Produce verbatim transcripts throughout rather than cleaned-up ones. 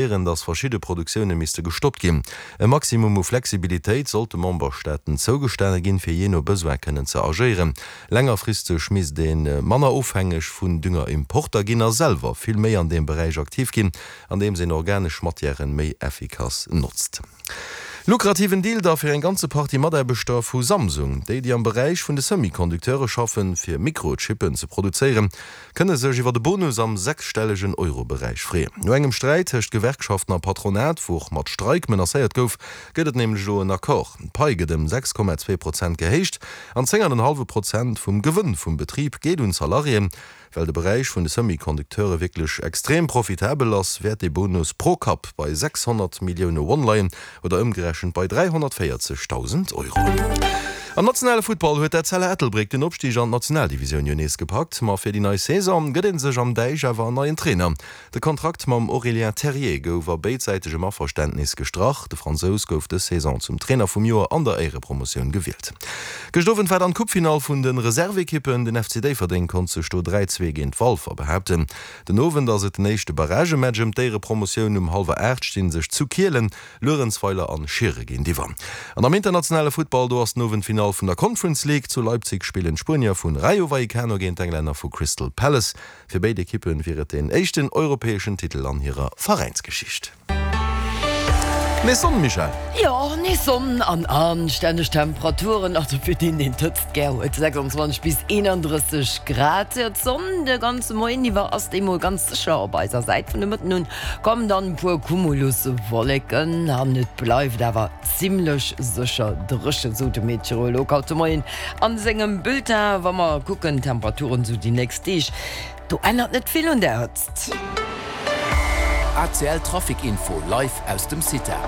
Dass verschidde Produktioune misste gestoppt ginn. E Maximum u Flexibilitéit sollt de Memberstaaten zougestane ginn, fir jee no Besoin kënnen ze agéieren. Längerfristeg misst ee manner ofhängeg vun Düngerimporter ginn a selwer vill méi an deem Beräich aktiv ginn, andeems een organesch Matièren méi effikass notzt. Lukrativen Deal da fir eng ganze Partie Mataarbechter vu Samsung. Déi, déi am Beräich vun de Semi-Conducteure schaffen, fir Mikrochippen ze produzéieren, kënne sech iwwer e Bonus am sechsstellegen Euro-Beräich freeën. No engem Sträit tëscht Gewerkschaften a Patronat, wou och mat Streik menacéiert gouf, gëtt et nämlech elo en Accord. D'Pai gëtt ëm sechs Komma zwee Prozent gehéicht an zéng an en hallwe Prozent vum Gewënn vum Betrib geet un d'Salariéen. Well de Beräich vun de Semi-Conducteure wierklech extrem profitabel ass, wäert dee Bonus pro Kapp bei sechshonnert Millioune Won leien, oder ëmgerechent bei dräihonnertvéierzegdausend Euro. Am nationale Futtball huet d'Etzella Ettelbréck den Opstig an d'Nationaldivisioun jo nees gepackt. Ma fir déi nei Saison gëtt ee sech am Däich awer en neien Trainer. De Kontrakt mam Aurélien Terrier gouf a béidsäitegem Averständnis gestrach. De Fransous gouf dës Saison zum Trainer vum Joer an der Éierepromotioun gewielt. Gëscht Owend war dann d'Coupefinall vun de Reserveekippen. Den F C Déifferdeng konnt sech do dräi zwee géint Walfer behaapten. Den Owend ass et den éischte Barragematch ëm d'Éierepromotioun. Um hallwer aacht sti sech zu Kielen Luerenzweiler an Schiere géintiwwer. An am internationale Futtball, do ass den Owend d'Finall vun der Conference League. Zu Leipzig spillen d'Spuenier vun Rayo Vallecano géint d'Englänner vu Crystal Palace. Fir béid Ekippe wier et deen éischten europäeschen Titel an hirer Veräinsgeschicht. Nees Sonn, Michèle? Jo, nees Sonn an anstänneg Temperaturen, also fir deen, deen d'Hëtzt gär huet, sechsundzwanzeg bis eenanddrësseg Grad. Jo, d'Sonn de ganze Moien iwwer ass déi mol ganz sécher op eiser Säit. Vun de Mëtten un kommen dann e puer Cumuluswolleken an et bleift awer zimmlech sécher dréchen, sou de Meteorolog haut de Moien an sengem Bulletin. Wa mer kucken d'Temperaturen sou déi nächst Deeg, do ännert net vill un der Hëtzt. A C L Trafic Info live aus dem CITA.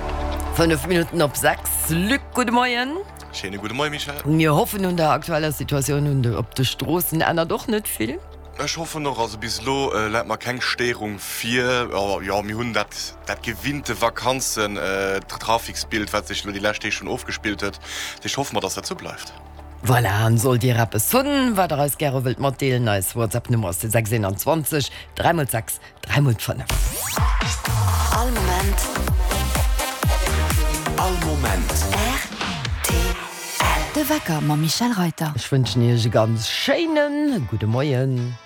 Fënnef Minutten op sechs. Luc, gudde Moien. Schéine gudde Moien, Michèle. Mir hoffen, un der aktueller Situatioun un de op de Stroossen ännert och net vill. Ech hoffen och. Also bis elo läit mer keng Stéierung vir. Jo, mir hunn dat dat gewinnte Vakanzen-Traficsbild, wat sech elo déi lescht Deeg schonn ofgespillt huet. Dat heescht, hoffe mer, dass dat esou bleift. Voilà, an sollt Dir eppes hunn, wat Der eis gäre wëllt matdeelen, eis WhatsApp-Nummer ass de sechs eenanzwanzeg dräi mol sechs dräi mol fënnef. All Moment. All Moment. R T L. De Wecker mam Michèle Reyter. Ech wënschen Iech e ganz schéine gudde Moien.